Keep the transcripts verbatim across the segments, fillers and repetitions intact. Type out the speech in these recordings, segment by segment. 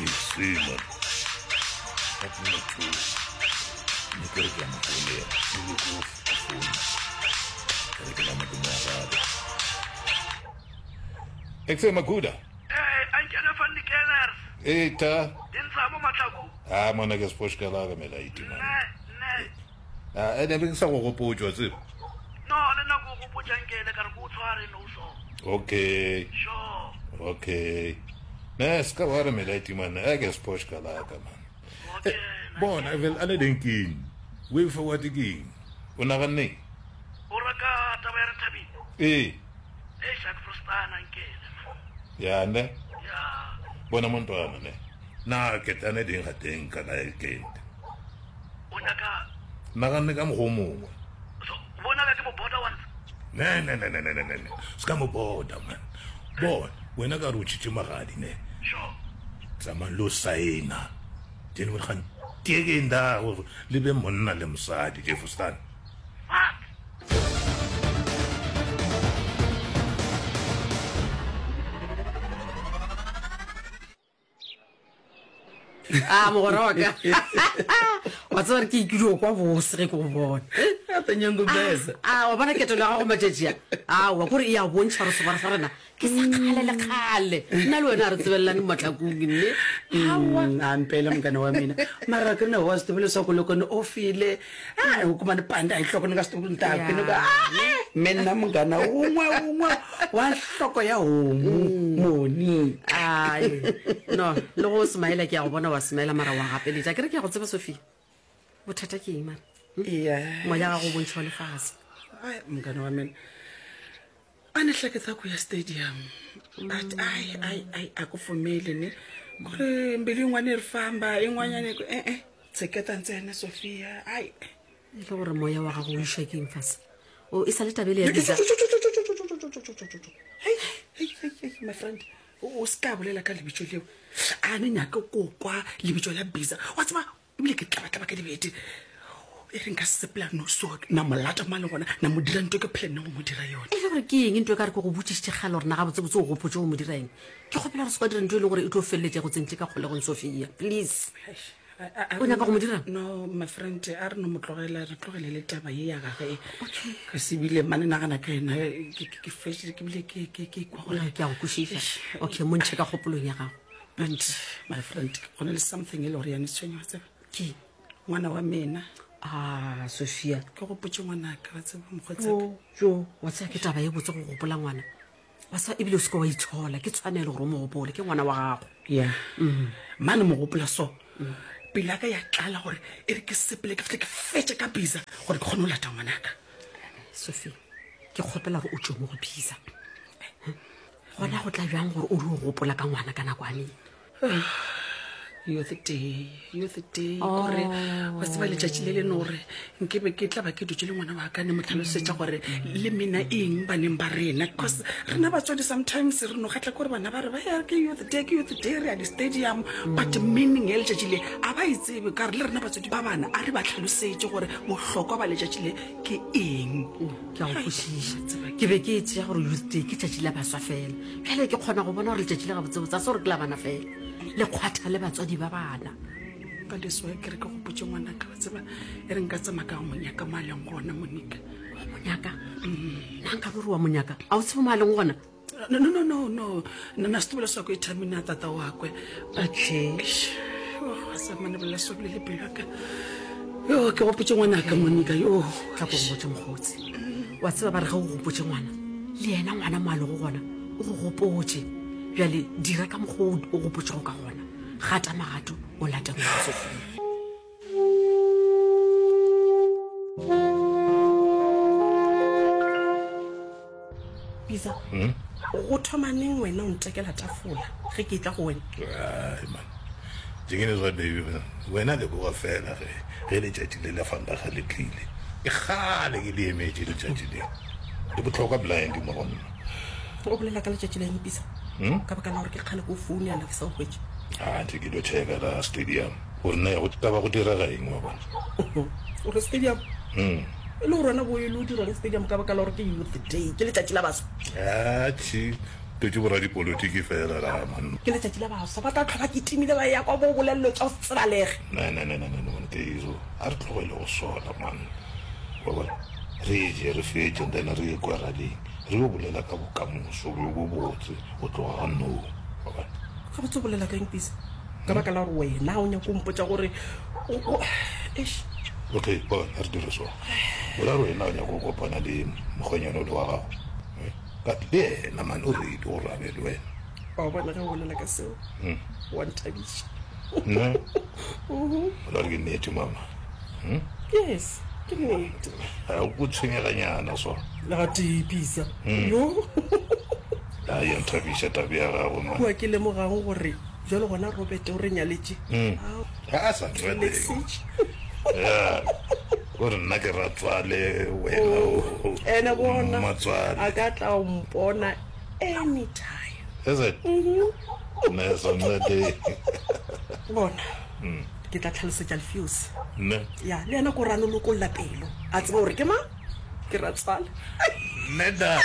See, man. Gape motho ne ke re ke a mo founela ebile ke o founa ke re ke name ke mo arabe Exe Makuda. Eh, ankene van die Kellers. Ee ta. Di ntsha mo matlhako. Ah mona ke sepoškala ka melaiti man. Ne, ne. Ah ene be ke sa go gopotša wa tseba. No, le nna ko gopotša nkele ka re ko o tshware no so. Okay. Sure. Okay. Ne se ka ba re melaiti man. A ke sepoškala ka man. Okay. Eh, bona vel a le deng Way forward ke eng? O naganne? O reka taba ya re thabile. Ee. Eh, Jacques Frostana nkele man. Ya ne. Ya. Bona montwana ne. Na ke tane ding ga teng ka la ke. O nyaka Naganne ka mokgwa o mongwe. so bona ka ke mo border once. Ne ne ne ne ne ne ne. ne. Se ka mo boda man. Bona wena ka re o tšhitše magadi ne. Sure. Tsamaya lo saena. Then we gaan tekeng da gore le be monna le mosadi Jefferson. Fuck. a mogora wa ka wa tseba re ke ikile kwa bose ge ke go bona Atanyango besa. a wa bona ketelo ya gago matšatši a aowa kore e a bontšha gore segwara sa rena ke sa kgale le kgale nna le wena a re tsebelelane matlakong mme aowa Mm, a mpela mokane wa mina mara ke ne wa swi tiva leswaku loko ni ofile a u kuma ni panda hi nhloko ni nga swi tivi ku ni ta Ya. kwi ni ku "Ah, eh, me nna munghana wun'we wun'we wa nhloko ya homu moni ai no le go smaila ke ya go bona wa smaila mara wa gapeletša ke re ke ya go tseba sophia bothata ke eng mara ya moya gago o bontšha wa lefase Ai, munghana wa mina a ni hleketa ku ya stadium but ai ai ai a ku pfumeli ni ku ri mbilu yin'wana yi ri famba yin'wanyana yi ku e-e tshiketa ntsena sophia ai e le gore moya wa gago o išwa ke eng fase o e sa le tabele ya bisa Hei, hei, hei, hei, my friend o o se ka bolela ka lebitso leo a ne nyake ko kwa lebitso la bisa wa tseba ebile ke tlabatlaba ka dibete e re nka sepela no so na molata mo a leng gona na mo dira nto ke planne go mo dira yone e le gore ke eng ntho e ka re ke go botsišitše kgale gore na gabotsebotse o gopotse go mo dira eng ke kgopela gore se ka dira ntho e leng gore e tlo feleletša go tsentše ka kgolegong sophia please A- a- O nyaka go mo dirang? no my friend a re no mo tlogela re tlogele le taba ye ya gage ka sebile mane nagana ka ena ke- ke ke fetše ke bile ke ke- ke kwa gore Gore ke a go kwešiša okay mo ntšhe ka kgopolong ya gago and my friend go na le something e le gore yane tshwenya wa tseba ke ngwana wa mena a sophia ke gopotse ngwanaka wa tseba mokgotsaka jo wa tseba ke taba ye botse go gopola ngwana wa tseba ebile o seke wa itshola ke tshwanelo gore o mo gopole ke ngwana wa gago ya mane mo gopola so pele ya ka ya tlala gore e re ke sepele ke fitlhe ke fetse ka bisa gore ke kgone go lata ngwanaka sophia ke kgopela gore o tswe mo go bisa gona go tla bjang gore o di o gopola ka ngwana ka nakwaneng youth day youth day kore wa tseba letšatši le le no gore nkebe ke tla ba ke dutse le ngwana wa ka ne mo tlhalosetša gore le mena eng baneng ba rena because rena batswadi sometimes re no kgatla kore bana ba re ba ya ke youth day ke youth day re ya di-stadium but meaning ya letšatši le a ba e tsebe ka re le rena batswadi ba bana a re ba tlhalosetše gore bohlokwa ba letšatši le ke eng ke a go kwešiša ke be ke e tšea gore youth day ke tšatši la baswa fela bjale ke kgona go bona gore letšatši le gabotsebotse a se gore ke la bana fela le kgwatha le batswadi ba bana ka leswa ke re ke gopotse ngwanaka wa tseba e re nka tsamaya ka go monyaka mo a leng gona monika wa monyaka nna nka be re wa monyaka a o tsebe mo a leng gona no no no no no nna na setobela sa ko ithamine a tata wakwe okay samane bolela sobile le pelo yaka yo ke gopotse ngwanaka monika yo tla ko go botse mokgotsi wa tseba ba re ge o gopotse ngwana le yena ngwana mo a lego gona o go gopotse bjale dira ka mokgwa o o gopotsego ka gona gata magato o late ngwana sofia bisa go thoma neng wena o ntekela tafola ge ke tla go wena Ai man. Jengene zwa baby wena le boga fela ge ge letšatši le la fandaga le tlile. Ke kgale ke le emetše letšatši le. Le botlhokwa blind mo go nna. o bolela ka letšatši la eng bisa ka baka la gore ke kgale ko foune yana ke sa o hwetše Ah, ntse ke lo checka la stadium. Gore na ya go taba go direga eng wa bona. o re stadium e le gore wena bo e le o dirang stadium ka baka la gore ke youth day ke letšatši la baswa Ah, tshi. Tletše boradipolotiki fela la man. Ke letšatši la baswa, ba tla hlwa ba kitimile ba eya kwa bo bolelelo tša go se tsebalege. Ne, ne, ne, ne, ne, ne, man, Keiso, a re tlogele go sola, man. Wa bona, re je, re fetše, and then re ye kwa raleng, re yo bolela ka bokamoso bjo bobotse go tloga ga nou. Wa bona? Gabotse o bolela ka eng, Pisa? Ka baka la gore wena o nyaka go mpotša gore o, o, eish. Okay, bona, a re dire so. O ra gore wena o nyaka go kopana le mokgwenyana ole wa gago? Eh? Ka le yena man o ready gore a be le wena. Wa bona ge o bolela ka seo, wa nthabiša. Ne? O ra gore ke nnete, mama? Hmm? Yes, ke nnete. A o tshwenyeganyana so. Le gatee, Pisa. Yo. A ya nthabiša taba ya gago, man. Kua ke lemogago gore jwale gona Robert o re nyaletše. Ga a sa nrateng. Relaxitše. Ya. Gore nna ke ratswale wena o. Ene bona Mmatswale. a ka tla o mpona anytime. Is it? Ne sa nnete. Bona ke tla tlhalosetša Lefuse. Ne. Ya, le yena ko rano lokolla pelo. A tseba gore ke mang? Ke ratswale. Ne da.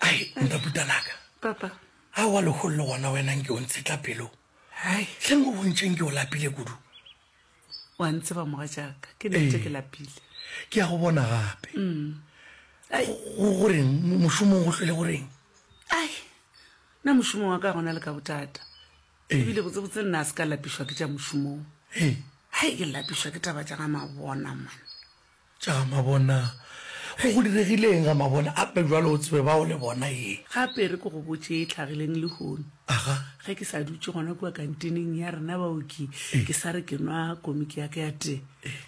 Ai, ntaputanaka. Papa. A wa lehono le gona wena nke o ntshetla pelo. Hai. Hleng o bontšheng ke o lapile kudu. Wa ntseba mogatšaka, ke nnete ke lapile. Ke ya go bona gape. Ai. Go goreng mošomong go hlwele goreng? Ai. Nna mošomo wa ka gona le ka bothata. Ebile botsebotse nna a se ka lapišwa ke tša mošomong. Ee. Hai, ke lapišwa ke taba tša ga Mabona, man. Tša ga Mabona. Go go diregileng ga Mabona? Ape jwalo o tsebe bao le bona ye. Gape re ke go botše e tlhagileng lehono. Aga. Ge ke sa dutše gona kua kantineng ya rena baoki, ke sa re ke nwa komiki ya ka ya tee.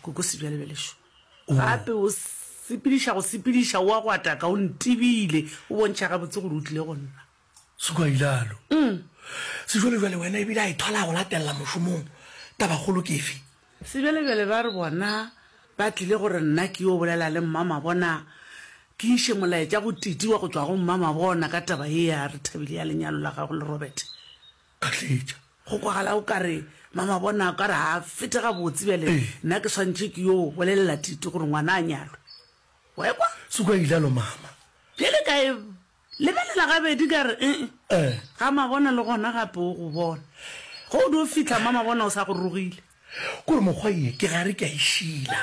Koko sebjalebjale šo. Gape o sepediša go sepediša o a go ataka, o ntebile, o bontšha gabotse gore o tlile go nna. Sekwa ilalo. Sejwalejwale wena ebile a ithola go latelela mošomong. Tabakgolo ke efe? Sebjalebjale ba re bona ba tlile gore nna ke yo bolela le mma Mabona, ke iše molaetša go Titi wa go tšwa go mma Mabona ka taba ye ya re thabile ya lenyalo la gago le Robert. Ka tletša. Go kwagala o ka re mma Mabona o ka re a fete gabotse bjale, nna ke swantše ke yo bolelela Titi gore ngwana a nyalwe. Wa ekwa? Sekwa ilalo mama. Bjale ka e lebelela gabedi ka re, ee, Eh. ga Mabona le gona gape o go bona. Go o dio fihla mma Mabona o sa go rogile. Kore mokgwa ye ke gare ke a e šila.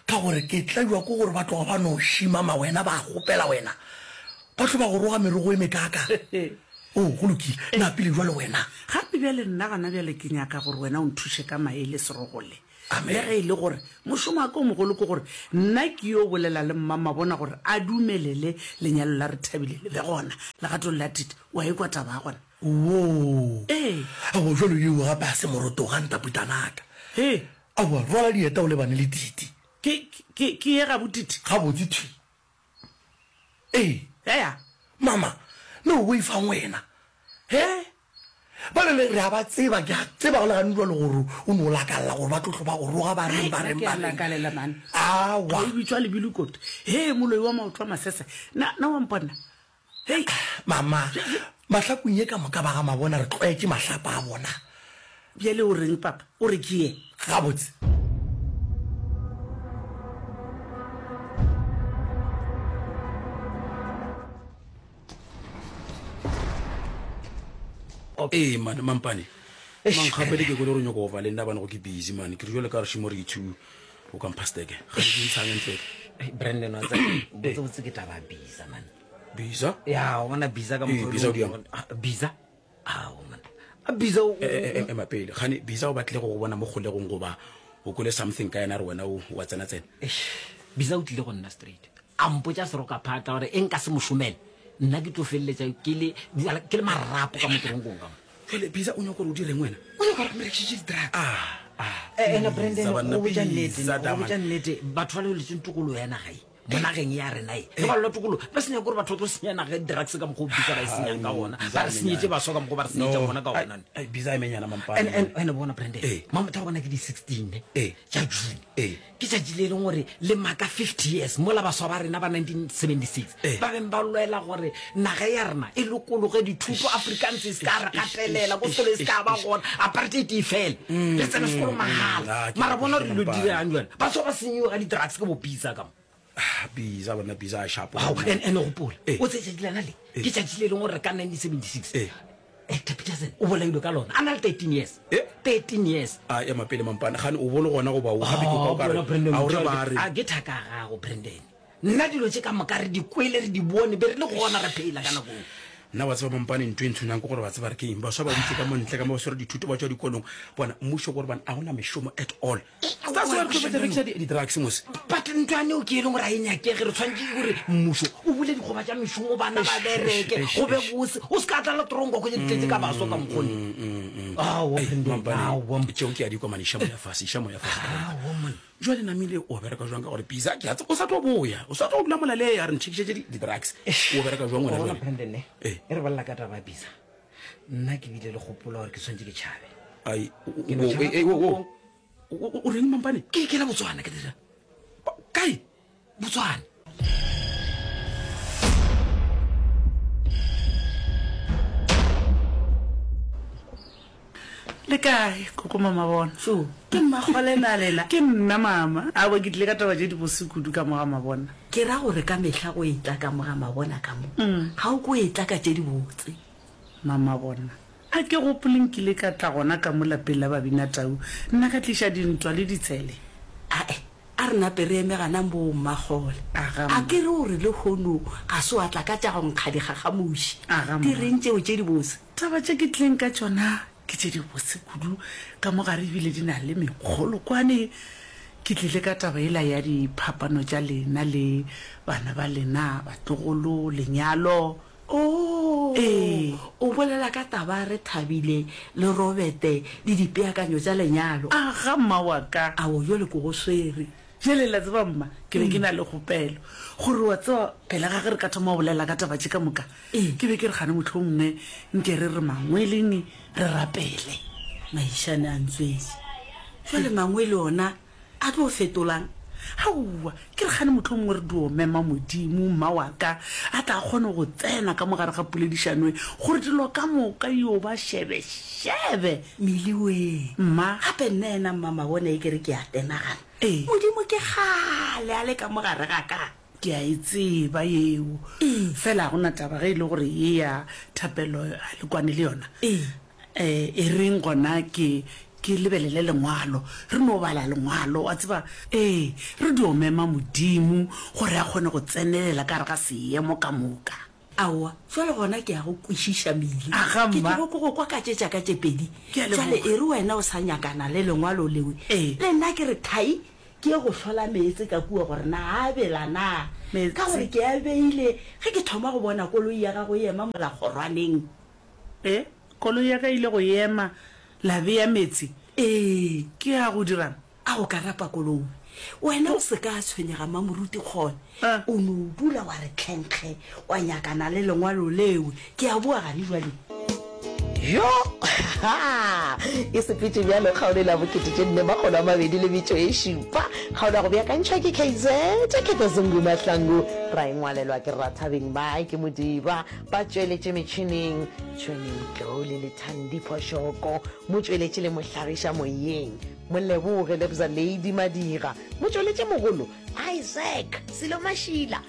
Ka gore ke tlaiwa ke gore ba tloga ba no šima ma wena ba gopela wena. Ba tlo ba go roga merogo e mekaka. O, go lokile. Na pele jwale wena. Gape bjale nna gona bjale ke nyaka gore wena o nthuše ka maele serogole. Amen. Le ge e le gore mošomo wa ka o mogolo ke gore nna ke yo bolela le mma Mabona gore a dumelele lenyalo la re thabile le be gona legatong la Titi. Wa ekwa taba ya gona? Wo. Ee. Aowa, jwalo yeo gape a se morotoga ntaputanaka. He. Aowa, rwala dieta o lebane le Titi. Ke, ke, ke ye gabo Titi? Gabotse thwi. Ee. Eya. Mama, ne o boifang wena? He? Ba le le re a ba tseba, ke a tseba go le gane jwalo gore o no lakalla gore ba tlo tlo ba go roga ba reng, ba reng, ba reng. Lakalela, man. Aowa. O bitswa lebilokoto. He, moloi wa maoto a masese. Na, na wa mpona? Hei. Mama, mahlakong ye ka moka ba ga Mabona re tlwaetše mahlapa a bona. Bjale o reng, papa? O re ke ye? Gabotse. Ee, man, mampane. Mang gape le ke kole gore o nyaka go ba le nna bane go ke busy, man. Ke re jwale ka re šimo re two o ka mpha steke. Ga ke ntshang ntle. Hey, Brandon, wa tseba, botse botse ke taba ya Bisa, man. Bisa? Ya, o bona Bisa ka Ee, mokgwa o Bisa o leng diang? gore- Ah, Bisa? Ao, man. A Bisa o- Eh, eh, eh, ema pele. Gane Bisa o batle go go bona mo kgolegong goba o kwele something ka yena re wena o wa tsena tsena. Eish, Bisa o tlile go nna straight. A mpotša seroka phata gore e nka se mo šomele. Nna ke tlo feleletša ke le, ke le marapo ka mo toronkong ka mo. Jwale Bisa o nyaka gore o direng wena? O nyaka gore ke mo rekišetše di-drugs. Ah, ah. Eh, ena Brandon, Bisa, banna, go botša nnete, Bisa, go botša Daman. nnete, batho ba lebeletseng tokologo ya naga e, mo nageng ya rena e le balwa tokolo ba senya gore batho ba tlo senya naga drugs ka mokgwa o bisa ba e senyang ka ona ba re senyetse baswa ka mokgwa ba re senyetsa bona ka ona bisa e menyana mampane and and and bona Brandon Eh. mamotho wa bona ke di sixteen ne Eh. tša June Eh. ke tšatši le e leng gore le maka fifty years mola baswa ba rena ba nineteen seventy-six Eh. ba beng ba lwela gore naga ya rena e lokologe dithuto Afrikaans e se ka re gatelela ko sekolo e se ka ba gona apartheid e fele re tsene sekolo mahala Ah, ke mara bona gore dilo Mampane. dirang jale baswa ba senyiwe ka di-drugs ke bo bisa ka mo Ah, bisa bona bisa a shapo Ao, and and gopola Eh. o tse tšatši lena le Eh. ke tšatši le leng gore ka nineteen seventy-six Eh. Hector Peterson o bolailwe ka lona a na le thirteen years Eh. thirteen years a ema pele mampane gane o bole gona goba o gape ke kwa o ka re Oh, bona Brandon a o re Motšwa- ba re a ke thaka ya gago Brandon nna dilo tše ka moka re di kwele re di bone be re le gona re phela ka nako eo. nna wa tseba mampane ntho e ntshwenyang ke gore ba tseba re ke eng baswa ba dutse ka montle ka mo ba swere dithuto ba tswa dikolong bona mmušo gore bana a gona mešomo at all that's why re tlo fetsa re rekisa di- di-drugs mos but ntho eo ke e leng gore a e nyakege re tshwanetse gore mmušo o bule dikgoba tša mešomo bana ba bereke eish, go be bose o se ka tlala tronko go ditletse ka baswa ka mokgone Aowa, Brandon, aowa. tšeo ke a di komane iša moya fase iša moya fase Aowa, man. jale namile o bereka jwang ka gore bisa ke a tseba o sa tlo boya o sa tlo dula mola le ya re nthekišetse di- di-drugs o bereka jwang Wa wena bona jwale? Brandon ne Eh. e re balela ka taba ya bisa nna ke bile le kgopolo gore ke tshwanetse ke tšhabe Ai, o- Ke no o- tšhaba eh, eh, o- o- o o- o reng mampane ke ke la Botswana ke dira Ba- kae Botswana Le kae koko mama bona so ke mmakgole na lena ke nna mama awa ke tlile ka taba tše di bose kudu ka moga mabona ke ra gore ka mehla go etla ka moga mabona ka mo ga o ko etla ka tše di botse mama bona a ke gopoleng ke ile ka tla gona ka mo lapeng la babina tau nna ka tliša dintwa le ditshele ae a re nape re eme gana moo mmakgole Aga, a ke re gore le kgono ga se wa tla ka tša go nkga digagamoši Aga, di mma. reng tšeo tše di bose taba tše ke tlileng ka tšona ke tše di bose kudu ka mo gare ebile di na le mekgolokwane ke tlile ka taba ela ya diphapano tša lena le bana ba lena batlogolo lenyalo o Ee. o bolela ka taba re thabile le robete le dipeakanyo tša lenyalo aga mma wa ka ao jale ko go swere jale la tseba mma ke be ke na le kgopelo gore wa tseba pele ga ge re ka thoma go bolela ka taba tše ka moka Ee. ke be ke re gane motlho mongwe nke re re mangweleng re rapele maišane a ntswetse jale mangwe le ona a tlo fetolang aowa ke re gane motlho mongwe re dio mema modimo mma wa ka a tla kgone go tsena ka mogare ga poledišanoe gore dilo ka moka yo ba shebeshebe meliweng mma gape nna ena mmama bona e kere ke a tenagana Ee. modimo ke gale a le ka mogare ga ka ke a e tseba yeo fela ga gona taba ge e le gore ye ya thapelo a le kwane le yona Ee. um e reng gona ke ke lebelele lengwalo re no bala lengwalo wa tseba ee re dio mema modimo gore a kgone go tsenelela ka gare ga seemo ka moka aowa jale gona ke ya go kwešiša mele Aga, ke mma. tlogo ke go kwa ka tše tšaka tše pedi Ke a leboga. jale e re wena o sa nyakana le lengwalo lewe Ee. le nna ke re thai ke ye go hlola meetse ka kua gore na a bela na Meetse. ka gore ke a beile ge ke thoma go bona koloi ya gago e ema molakgorwaneng e koloi ya ka ile go ema la beya metsi ee ke ya go dirang a go ka rapa koloi wena o se ka tshwenyega mamoruti kgone Ah. o no o dula wa re tlhenkge wa nyakana le lengwalo lewe ke a boa gane jale yo ha e sepetse bjalo kgaolo e la bokete tše nne makgolo a mabedi le metšo e šupa kgaolo ya go beakantšhwa ke kz khetha zungu mahlangu ra e ngwalelwa ke rathabeng bae ke modiba ba tšweletše metšhineng tšhweneng tlole le thandi phošoko mo tšweletše le mohlagiša moyeng moleboge lebza lady madira mo tšweletše mogolo isaac selo mašila.